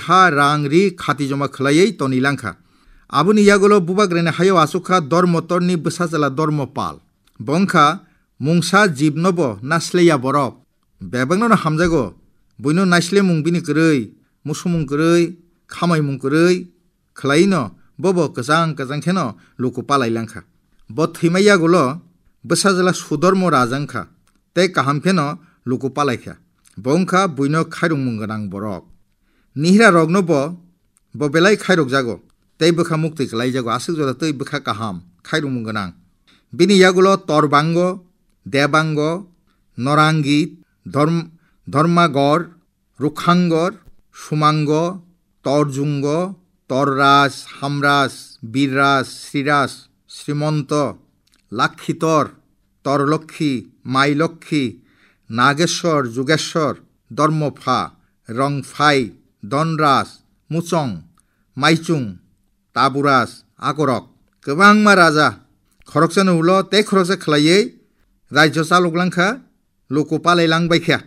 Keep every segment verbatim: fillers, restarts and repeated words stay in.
ha rang ri khati joma khwlaiwi toni langkha. Aboni yagulo bubagrani hayo achukha Dormotorni bwsajwla Dormopal. Bo wngkha mungsa jibnobo nasleya borok. Bebakno no hamjago. Buino naislemung bini kwrwi, musumung kwrwi, khamaimung kwrwi khwlaino bobo kwchang kwchang kheno luku palai langkha. Bo thwima yagulo bwsajwla Sudormo raja wngkha, tei kaham kheno luku palaikha. Bo wngkha buino khairokmung gwnang borok. Nihira rokno bo, bo belai khairokjago, tei bwkha muktwi kwlaijago, aswk jora tei bwkha kaham, khairokmung gwnang. Bini yagulo Torbango, Debango, Norangi, Dhorm-, Dhormagor, Rukhangor, Sumango, Torjungo, Torraj, Hamraj, Birraj, Sriraj, Srimonto, Lakhitor, Torlokhi, Mailokhi, Nageshwor, Jugeshwor, Dormopha, Rongphai, Donraj, Muchong, Maichung, Taburaj, akorok kwbangma raja khoroksano ulo tei khoroksa khwlaiwi rajyo chalok langkha, luku palai lang baikha.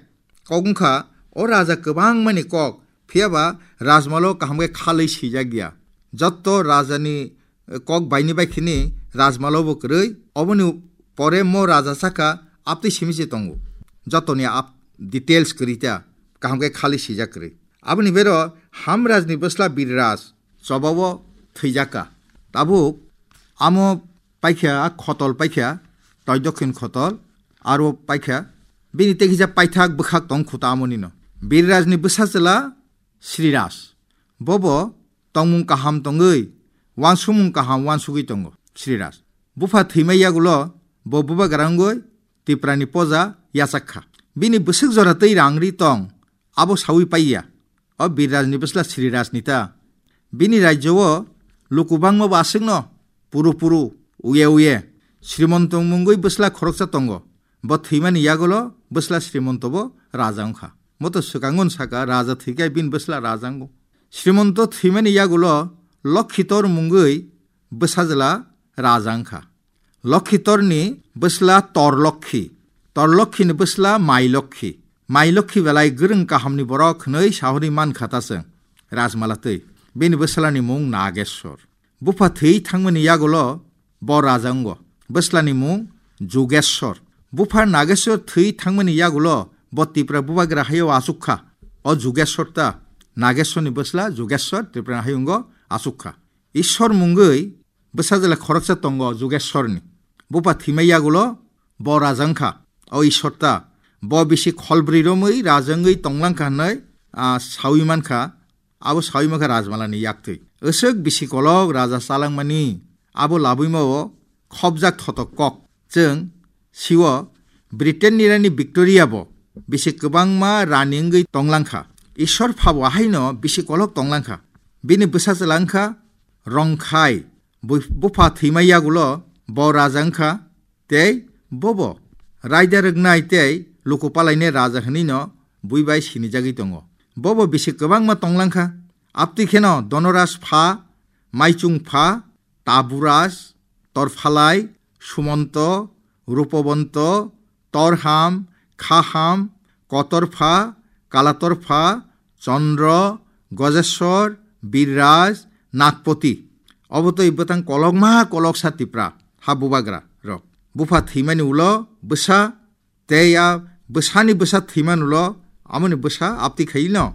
Kok wngkha o raja kwbangmani kok, phiyaba rajmalo kaham khe khalwi swijak ya. Jotto rajani, eh, kok baini baikhini rajmalo bo kwrwi, oboni pore mo raja saka aptwi simi se tongo. Jotoni ap-, details kwrwi ta, kaham khe khalwi swijak kwrwi. Aboni bero Hamrajni bwsla Birraj chobao thwijak kha. Tabuk amo paikha, a khotol paikha, toi dokhin khotol, aro paikha, bini tei kisa paithak bwkhak tong khuta amoni no. Birrajni bwsa chwla Sriraj. Bobo tongmung kaham tongwi, wansukmung kaham wansugwi tongo Sriraj. Bupha thwima yagulo bo bubagra wngwi Tiprani poja yachak kha. Bini bwswk jora tei rang ri tong, abo saui paiya. O Birrajni bwsla Srirajni ta. Bini rajyo o luku bangma bo aswkno puru puru, uye uye. Srimonto mungwi bwsla khoroksa tongo. Bo thwimani yagulo bwsla Srimonto bo raja wngkha. Moto swkango wng saka, raja thwikai bini bwsla raja wngo. Srimonto thwimani yagulo Lokhitor mungwi bwsajwla raja wngkha. Lokhitorni bwsla Torlokhi, Torlokhini bwsla Mailokhi. Mailokhi belai gwrwng kahamni borok hwnwi sahorwi mankha ta chwng rajmala twi. Bini bwslani mung Nageshwor. Bupha thwi thangmani yagulo bo raja wngo. Bwslani mung Jugeshwor. Bupha Nageshwor thwi thangmani yagulo bo Tipra bubagra hayo achuk kha. O Jugeshwor ta. Nageshworni bwsla Jugeshwor Tipra hayungo achuk kha. Ishwar mungwi bwsajwla khoroksa tongo Jugeshwarni. Bupha thwima yagulo bo raja wngkha, o Ishwar ta. Bo bisi kholbrwi romwi raja wngwi tonglangkha hwnwi, ah, saui mankha, abo saui mankha rajmalani yaktwi. Aswk bisi kolok raja chalangmani, abo labuima o khopjak thotok kok. Chwng sio Britain ni rani Victoria bo bisi kwbangma rani wngwi tonglangkha. Ishwar phabo haino bisi kolok tonglangkha. Bini bwsa chwla wngkha Rongkhai. Bui-, bupha thwima yagulo bo raja wngkha, tei bobo raida rwknai tei luku palainai raja hwnwino bui bai sinijagwi tongo. Bobo bisi kwbangma tonglangkha. Aptwi kheno Donoras pha, Maichung pha, Taburas, Torphalai, Sumonto, Rupobonto, Torham, Khaham, Kotorpha, Kalatorpha, Chondro, Gojeshwor, Birraj, Nagpoti. Obo twi bwtang kolokma koloksa Tipra ha bubagra rok. Bupha thwimani ulo bwsa tei a bwsani bwsa thwiman ulo amoni bwsa aptwi khaino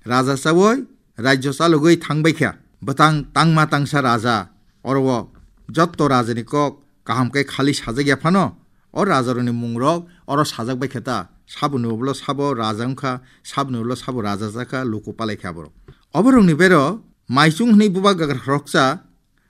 raja chaui rajyo chalogwi thangbai kha. Bwtang tangma tangsa raja, oro o jotto rajani kok kaham khe khali sajak ya phano, o rajarokni mungrok oro sajak bai kha ta. Saboni ulo sabo raja wngkha, saboni ulo sabo raja jakha, luku palai kha borok. Oborokni bero Maichung hwnwi bubagra khoroksa,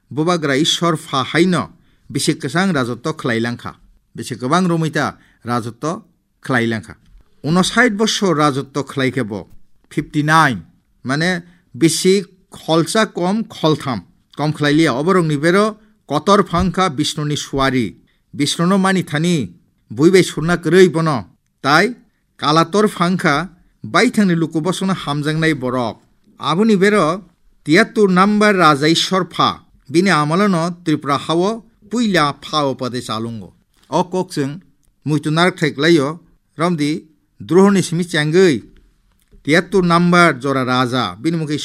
bubagra Ishwar pha haino bisi kwchang rajotto khlai langkha. Bisi kwbang romwi ta rajotto khlai langkha. Unosait bosor rajotto khlai khe bo, fifty nine, mane bisi kholsa kom kholtham, kom khlai liya. Oborokni bero Kotorpha wngkha Bishnuni suari. Bishnuno mani thani bui bai surna kwrwi bono. Tai Kalatorpha wngkha baithangni luku bosongno hamjaknai borok. Aboni bero tiyattur number raja Ishwarpha, bini amolono Tripura hao puila pha upade chalungo. O kok chwng muitu narwk thai kwlaio, romdi drohorni simi chengwi tiyattur number jora raja, bini mungkhe